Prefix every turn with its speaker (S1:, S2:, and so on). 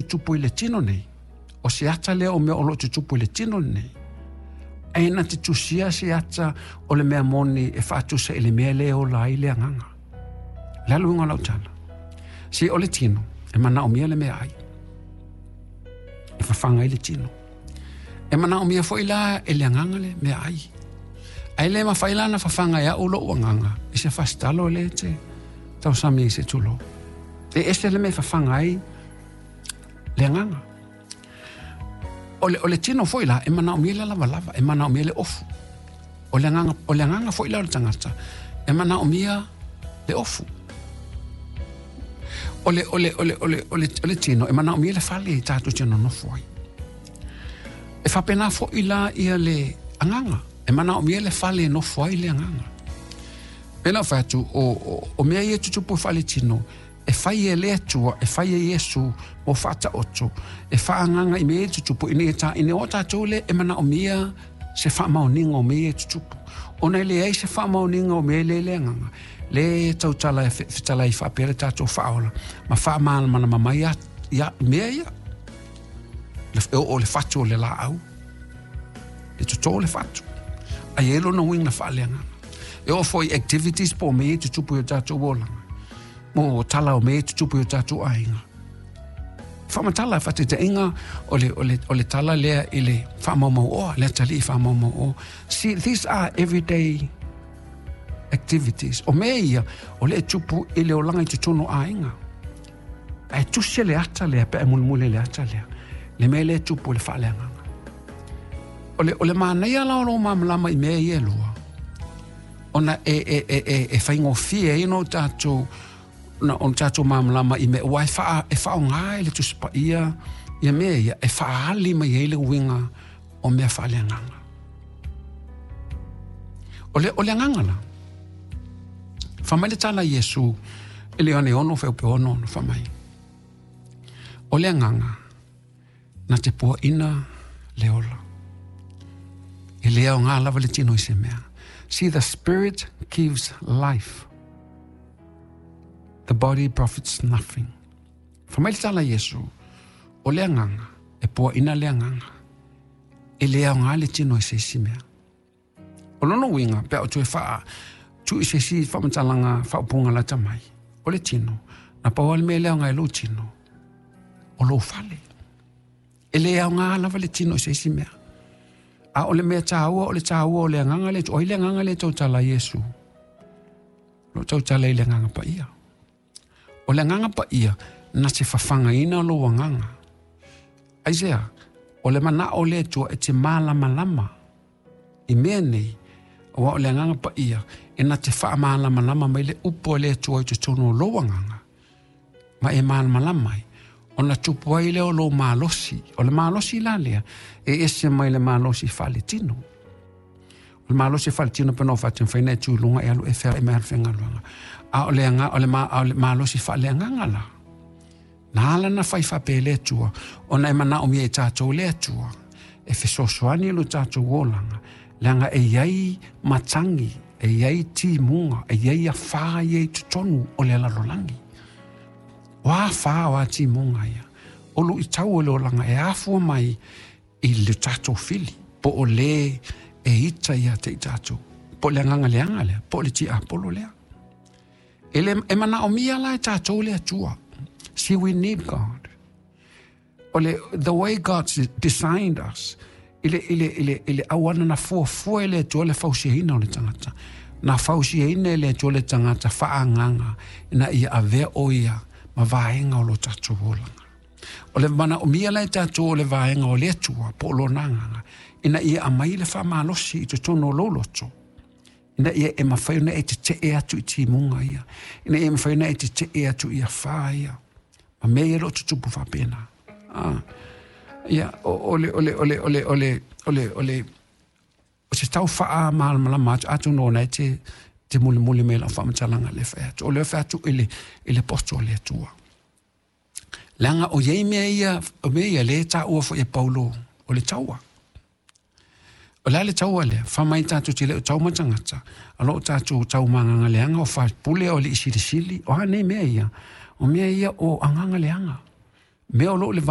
S1: tutupu i le tino nei, o se ata lea o mea o lo o tutupu i le tino lenei. Ae na te tusia se ata o le mea moni e faatusa i le mea lea e ola ai le agaga. O le a le uiga o lau tala? Se o le tino, e manaomia le meaai. E fafaga ai le tino. E manaomia foi la e le agaga le meaai. Ae le mafai la ona fafaga e au lou agaga i se fasitalo lea e te tausami ai se tulou. E ese le mea e fafaga ai le agaga. O le tino foi la, e manaomia le lavalava, e manaomia le ofu. O le agaga foi la o le tagata, e manaomia le ofu. O le tino, e manaomia le fale e tatou te nonofo ai. E faapena foi la ia le agaga, e manaomia le fale e nofo ai le agaga. Pei ona fai atu, o mea ia e tutupu e faaletino, e fai e le Atua, e fai e Iesu mo faataoto, e faaagaga i mea ia e tutupu, ina ia ina o tatou lea e manaomia se faamaoniga o mea ia e tutupu. Ona e leai se faamaoniga o mea lea le agaga, le tautala e fetalai faapea le tatou faaola, ma faamalamalama mai ia mea ia. E oo le fatu o le laau, e totō le fatu. Ae i ai lona uiga faaleagaga. E oo foi activities po o mea ia e tutupu i o tatou olaga, mo tala o mea e tutupu i o tatou aiga. Faamatala faataitaiga o le tala lea i le faamaumauoa, le atalii faamaumauoa. See, these are everyday activities. O mea ia, o le e tupu i le olaga i totonu o aiga. Ae tusi le ata lea, pe a mulimuli le ata lea. Le mea lea e tupu i le faaleagaga. O le manaia la o lou malamalama i mea ia e lua, ona e faigofie ai ona tatou na ona tatou malamalama i mea, ua e faaaoga i le Tusi Paia ia mea ia, e faaali mai ai le uiga o mea faaleagaga. O le agaga la, fai mai le tala a Iesu i le Ioane 6 fuaiupu 66, fai mai, o le agaga na te puaina le ola. E le aoga lava le tino i se mea. See, the spirit gives life. The body profits nothing. Fai mai le tala a Iesu, o le agaga, e puaina le agaga. E le aoga le tino i se isi mea. O lona uiga, pe a o toe faa tuu i se isi faamatalaga faaupuga lata mai, o le tino, na pau lava le mea e le aoga i lou tino, o lou fale. E le aoga lava le tino i se isi mea. A o le mea taua, o le taua o le agaga lea, o ai le agaga lea e tautala ai Iesu? O lo o tautala i le agaga paia. O le agaga paia, na te fafagaina lou agaga. Aisea, o le manao o le Atua e te malamalama i mea nei, aua o le agaga paia e na te faamalamalama mai le upu a le Atua i totonu o lou agaga, ma e malamalama ai, ona tupu ai lea o lou malosi. O le malosi la lea, e ese mai le malosi faaletino. O le malosi faaletino pe na o faatino e tu i luga e alu e fea e mai alu faigaluega. A o le aga, o le, ma, o le malosi faaleagaga la. Na ala na fai faapea le Atua, ona e manaomia e tatou le Atua, e fesoasoani lo tatou olaga, leaga e i ai matagi, e i ai timuga, e i ai afā ia i totonu o le lalolagi. O afā o a timuga ia. O luitau o le olaga e afua mai i le tatou fili, po o le e ita ia te i tatou. Po o le agaga leaga lea, po o le tiapolo lea. E, le, e manaomia la e tatou le Atua. See, we need God. O le, the way God designed us, i le auana na fuafua e le Atua le fausiaina o le tagata. Na fausiaina e le Atua le tagata faaagaga ina ia avea o ia ma vaega o lo tatou olaga. O le manaomia la e tatou o le vaega o le Atua po o lona agaga, ina ia aumai le faamalosi i totonu o lou loto, ina ia e mafai ona e tetee atu i timuga ia, ina ia mafai ona e tetee atu i afā ia, ma mea ia o lo o tutupu faapena. Ah, ia, o le, o le, o le, o le, o le, o le, o le, o se tau faamalamalama atu, atonu ona e te mulimuli mai lau faamatalaga le fai atu. O le fai atu i le poto o le Atua. Leaga o iai mea ia, o mea ia le taua foi e Paulo o le taua. O le a le taua lea, fai mai tatou te le o tau ma tagata, a lo o tatou tau ma agaga leaga o faipule o alii silisili, o a nei mea ia? O mea ia o agaga leaga. Mea o lo o le